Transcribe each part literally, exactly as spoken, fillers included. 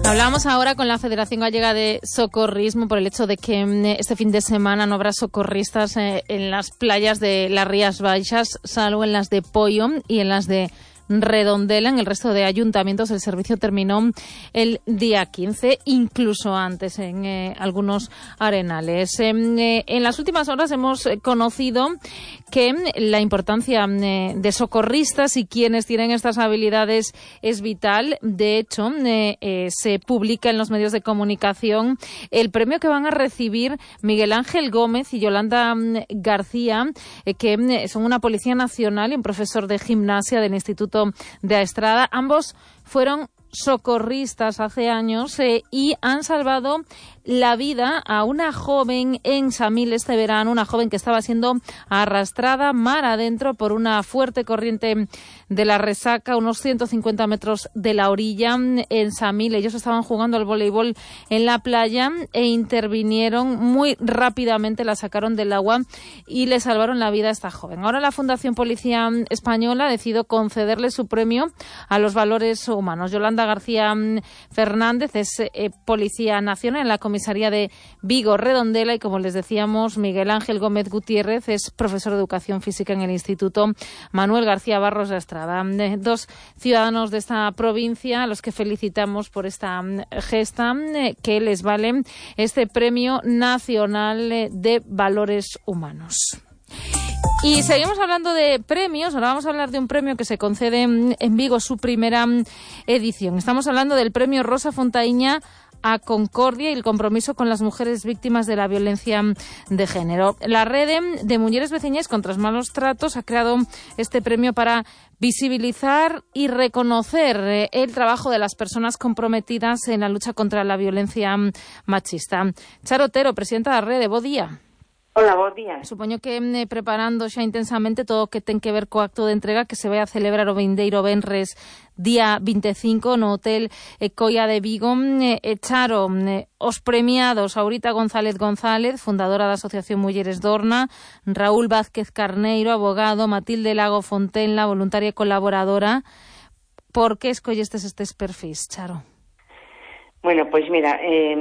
Hablamos ahora con la Federación Gallega de Socorrismo por el hecho de que este fin de semana no habrá socorristas en las playas de las Rías Baixas, salvo en las de Poio y en las de Redondela. En el resto de ayuntamientos el servicio terminó el día quince, incluso antes en eh, algunos arenales. Eh, eh, en las últimas horas hemos conocido que la importancia eh, de socorristas y quienes tienen estas habilidades es vital. De hecho, eh, eh, se publica en los medios de comunicación el premio que van a recibir Miguel Ángel Gómez y Yolanda García, eh, que eh, son una policía nacional y un profesor de gimnasia del Instituto de Aestrada. Ambos fueron socorristas hace años eh, y han salvado la vida a una joven en Samil este verano, una joven que estaba siendo arrastrada mar adentro por una fuerte corriente de la Resaca, unos ciento cincuenta metros de la orilla en Samil. Ellos estaban jugando al voleibol en la playa e intervinieron muy rápidamente, la sacaron del agua y le salvaron la vida a esta joven. Ahora la Fundación Policía Española ha decidido concederle su premio a los valores humanos. Yolanda García Fernández es eh, Policía Nacional en la Comisaría de Vigo Redondela y, como les decíamos, Miguel Ángel Gómez Gutiérrez es profesor de Educación Física en el Instituto Manuel García Barros de Estrada. Dos ciudadanos de esta provincia a los que felicitamos por esta gesta que les vale este Premio Nacional de Valores Humanos. Y seguimos hablando de premios. Ahora vamos a hablar de un premio que se concede en Vigo, su primera edición. Estamos hablando del Premio Rosa Fontaíña a Concordia y el compromiso con las mujeres víctimas de la violencia de género. La Red de Mujeres Veciñas contra los Malos Tratos ha creado este premio para visibilizar y reconocer el trabajo de las personas comprometidas en la lucha contra la violencia machista. Charo Otero, presidenta da Rede, bo día. Hola, bom día. Supoño que eh, preparando xa intensamente todo o que ten que ver co acto de entrega que se vai a celebrar o vindeiro venres día vinte e cinco no Hotel eh, Coia de Vigo. Eh, echaron eh, os premiados Aurita González González, fundadora da Asociación Mulleres Dorna, Raúl Vázquez Carneiro, abogado, Matilde Lago Fontenla, voluntaria e colaboradora. Por que escollestes estes perfis, Charo? Bueno, pois mira, eh,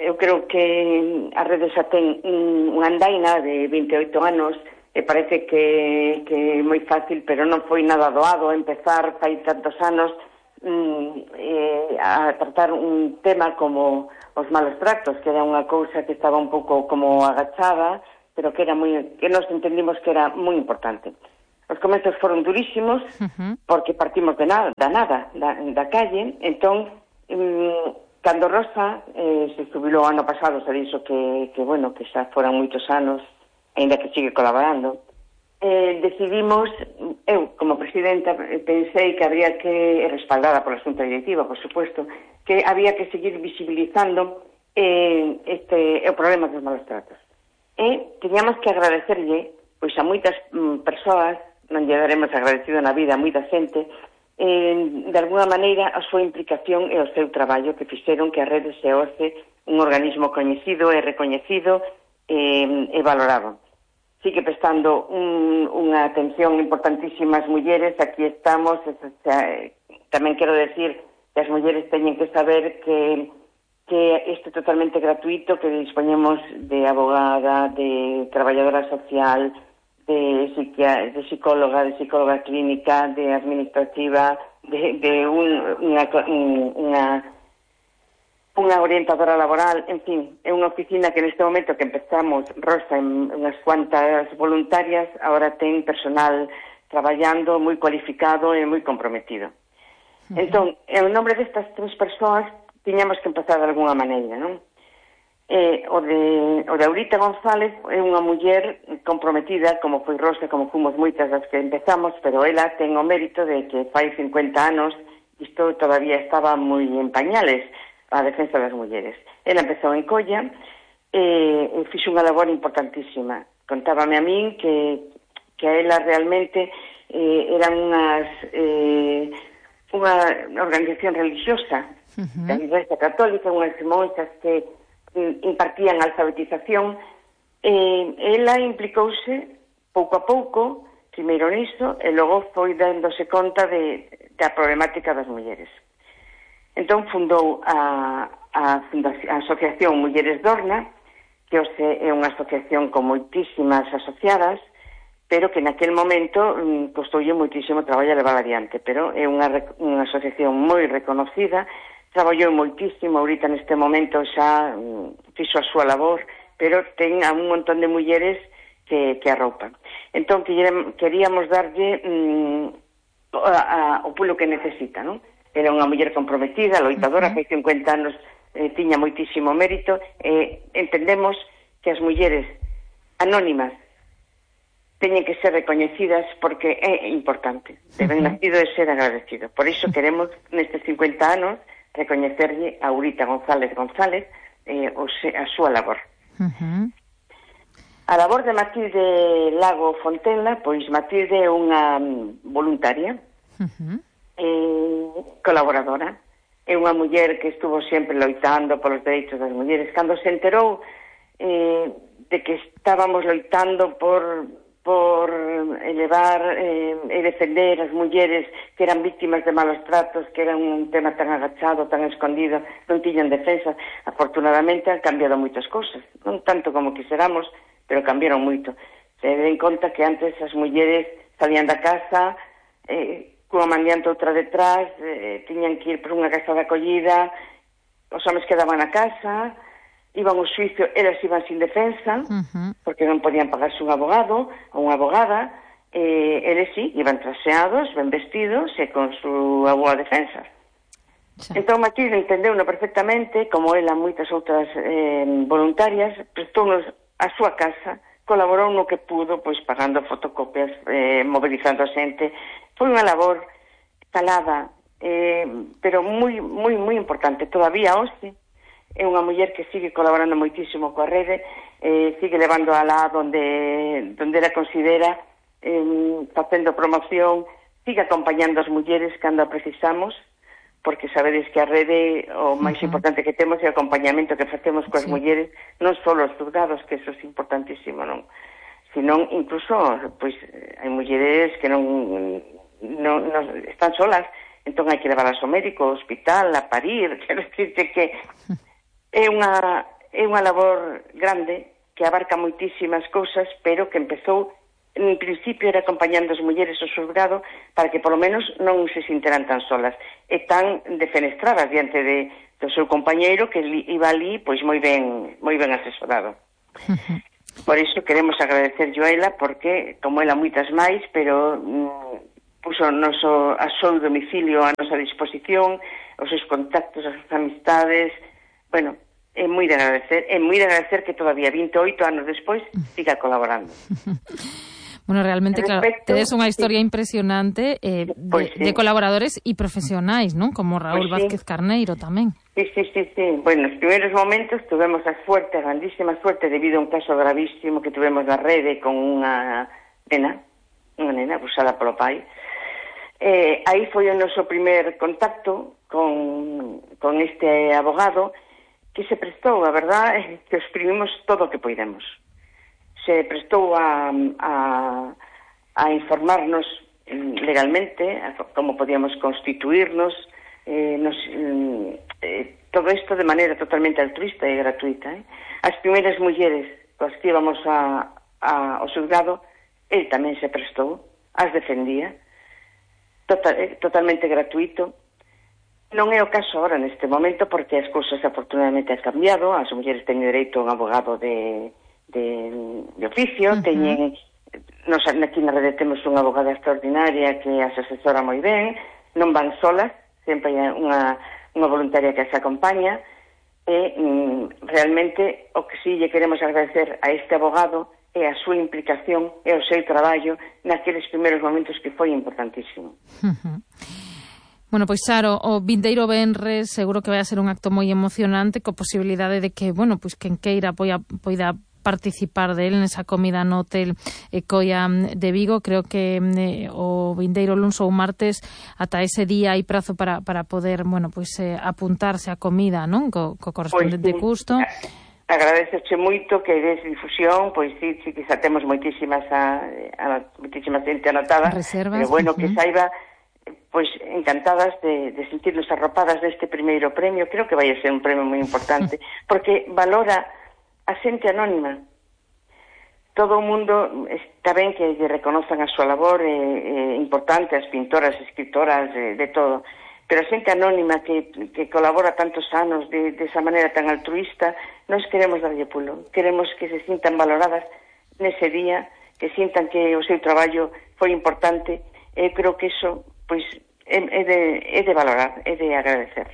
eu creo que a Rede xa ten unha andaina de vinte e oito anos e parece que, que é moi fácil, pero non foi nada doado empezar fai tantos anos mm, eh, a tratar un tema como os malos tratos, que era unha cousa que estaba un pouco como agachada, pero que era moi, que nos entendimos que era moi importante. Os comezos foron durísimos, uh-huh. porque partimos de nada, da nada, da, da calle, entón... Mm, cando Rosa eh, se jubilou ano pasado, se dixo que, que, bueno, que xa foran moitos anos, ainda que sigue colaborando, eh, decidimos, eu como presidenta pensei que habría que, respaldada pola Xunta Directiva, por supuesto, que había que seguir visibilizando eh, este, o problema dos malos tratos. E teníamos que agradecerlle, pois a moitas mm, persoas, non lle daremos agradecido na vida a moita xente, Eh, de alguna maneira a súa implicación e o seu traballo que fixeron que a Rede se hoxe un organismo coñecido e recoñecido eh, e valorado. Sigue prestando un, unha atención importantísima ás mulleres. Aquí estamos, eh, tamén quero decir que as mulleres teñen que saber que que isto é totalmente gratuito, que dispoñemos de abogada, de traballadora social, de, psiquia, de psicóloga, de psicóloga clínica, de administrativa, de, de un, unha, unha, unha orientadora laboral, en fin, é unha oficina que neste momento que empezamos, Rosa, en unhas cuantas voluntarias, ahora ten personal traballando moi cualificado e moi comprometido. Uh-huh. Entón, en nombre destas tres persoas, tiñamos que empezar de alguna maneira, non? Eh, o, de, o de Aurita González é unha muller comprometida, como foi Rosa, como fomos moitas das que empezamos, pero ela ten o mérito de que fai cincuenta anos isto todavía estaba moi en pañales, a defensa das mulleres. Ela empezou en Colla e eh, fixo unha labor importantísima. Contábame a min que, que a ela realmente eh, eran unhas eh, unha organización religiosa, uh-huh. da Igrexa Católica, unhas monxas que impartían alfabetización, eh, ela implicouse pouco a pouco, primeiro niso, e logo foi dándose conta de, da problemática das mulleres. Entón fundou a, a, a Asociación Mulleres Dorna, que hoxe é unha asociación con moitísimas asociadas, pero que naquel momento um, costoulle moitísimo traballo a levar adiante, pero é unha, unha asociación moi reconocida, traballou moitísimo, ahorita neste momento xa um, fixo a súa labor, pero ten a un montón de mulleres que, que arroupan. Entón, queríamos darlle um, a, a, o pulo que necesita, non? Era unha muller comprometida, loitadora, que hai cincuenta anos eh, tiña moitísimo mérito, e eh, entendemos que as mulleres anónimas teñen que ser recoñecidas porque é importante. Deben uh-huh. nacido de ser agradecido. Por iso queremos, nestes cincuenta anos, recoñecerlle a Aurita González González eh, o se, a súa labor. Uh-huh. A labor de Matilde Lago Fontenla, pois Matilde é unha voluntaria, uh-huh. eh, colaboradora, é unha muller que estuvo sempre loitando polos dereitos das mulleres. Cando se enterou eh, de que estábamos loitando por... por elevar eh, e defender as mulleres que eran víctimas de malos tratos, que era un tema tan agachado, tan escondido, non tiñan defensa. Afortunadamente han cambiado moitas cousas, non tanto como quixéramos, pero cambiaron moito. Se den conta que antes as mulleres salían da casa, eh, cunha mandiante outra detrás, eh, tiñan que ir por unha casa de acollida, os homens quedaban na casa, iban ao xuicio, elas iban sin defensa, uh-huh. porque non podían pagarse un abogado ou unha abogada, eh, eles sí, iban traseados, ben vestidos e con súa boa defensa. Sí. Entón Matilde entendeu-no perfectamente, como ela moitas outras eh, voluntarias, prestounos a súa casa, colaborou no que pudo, pois pagando fotocopias, eh, mobilizando a xente. Foi unha labor calada, eh, pero moi, moi, moi importante. Todavía hoxe é unha muller que sigue colaborando moitísimo coa rede, eh, sigue levando a lá donde, donde ela considera, eh, facendo promoción, sigue acompañando as mulleres cando a precisamos, porque sabedes que a rede o máis uh-huh. importante que temos é o acompañamento que facemos coas sí. mulleres, non só os juzgados, que eso é importantísimo, non? Senón, incluso, pois, hai mulleres que non, non, non están solas, entón hai que levarlas ao médico, ao hospital, a parir, quero dicirte que é unha, é unha labor grande que abarca moitísimas cousas, pero que empezou, en principio, era acompañando as mulleres ao xulgado para que, polo menos, non se sinteran tan solas e tan defenestradas diante de, do seu compañeiro que iba ali, pois, moi ben, moi ben asesorado. Por iso queremos agradecer a ela, porque, como ela, moitas máis, pero mm, puso o noso, a seu domicilio a nosa disposición, os seus contactos, as súas amistades. Bueno, é moi de agradecer, é moi de agradecer que todavía vinte e oito anos despois siga colaborando. Bueno, realmente, claro, tedes unha historia sí. impresionante eh, de, pues sí. de colaboradores e profesionais, non? Como Raúl pues Vázquez sí. Carneiro tamén. Sí, sí, sí, sí. Bueno, nos primeiros momentos tuvemos a suerte, a grandísima suerte, debido a un caso gravísimo que tuvemos na rede con unha nena, unha nena abusada polo pai. Eh, aí foi o noso primer contacto con, con este abogado, que se prestou, a verdad, que os exprimimos todo o que poidemos. Se prestou a, a, a informarnos legalmente a como podíamos constituirnos, eh, nos, eh, todo isto de maneira totalmente altruista e gratuita. Eh? As primeiras mulleres coas que íbamos a, a, ao xulgado, el tamén se prestou, as defendía, total, eh, totalmente gratuito. Non é o caso ahora neste momento, porque as cousas afortunadamente han cambiado, as mulleres teñen dereito a un abogado de, de, de oficio, uh-huh. teñen, nos aquí na rede temos unha abogada extraordinaria que as asesora moi ben, non van solas, sempre hai unha, unha voluntaria que as acompaña, e mm, realmente o que sí lle queremos agradecer a este abogado é a súa implicación e o seu traballo naqueles primeiros momentos que foi importantísimo. Uh-huh. Bueno, pois Saro, o vindeiro venres seguro que vai a ser un acto moi emocionante, co posibilidade de que, bueno, pois quen queira poida, poida participar del nesa comida no Hotel Ecoia de Vigo. Creo que eh, o vindeiro luns ou martes ata ese día hai prazo para, para poder, bueno, pois eh, apuntarse a comida, non? Co, co correspondente pois, custo. Agradezoche moito que des difusión, pois sí, sí que xa temos moitísimas a, a, moitísima xente anotada, reservas, pero bueno, uh-huh. que saiba pois encantadas de, de sentirnos arropadas deste primeiro premio. Creo que vai a ser un premio moi importante, porque valora a xente anónima. Todo o mundo está ben que lle reconozan a súa labor, é, é importante, as pintoras, escritoras, de, de todo, pero a xente anónima que, que colabora tantos anos de, de esa maneira tan altruista, nós queremos darlle pulo, queremos que se sintan valoradas nese día, que sintan que o seu traballo foi importante. Eu creo que iso pois é, é, de, é de valorar, é de agradecer.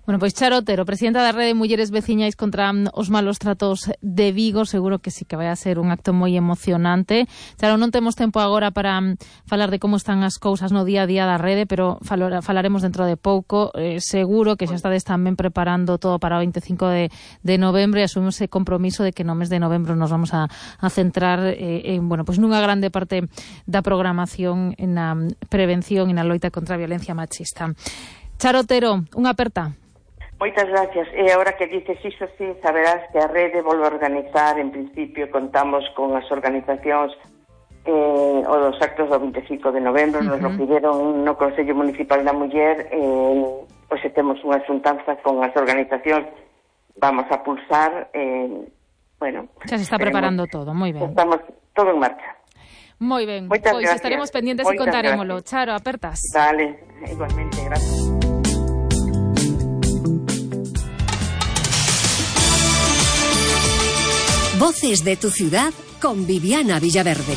Bueno, pois Charo Otero, presidenta da Rede Mulleres Veciñais contra os malos tratos de Vigo, seguro que sí que vai a ser un acto moi emocionante. Charo, non temos tempo agora para falar de como están as cousas no día a día da rede, pero falaremos dentro de pouco. Eh, seguro que xa estades tamén preparando todo para o veinticinco de, de novembro e asumimos ese compromiso de que no mes de novembro nos vamos a, a centrar eh, en, bueno, pois nunha grande parte da programación na prevención e na loita contra a violencia machista. Charo Otero, unha aperta. Moitas gracias. E agora que dices iso, sí, saberás que a rede volve a organizar, en principio contamos con as organizacións eh, o dos actos do veinticinco de novembro, uh-huh. Nos lo pidieron no Consello Municipal da Muller, eh, pois temos unha xuntanza con as organizacións, vamos a pulsar, eh, bueno... Xa se está preparando todo, moi ben. Estamos todo en marcha. Moi ben, pois gracias. Estaremos pendientes e contarémolo. Gracias. Charo, apertas. Vale, igualmente, gracias. Voces de tu ciudad con Viviana Villaverde.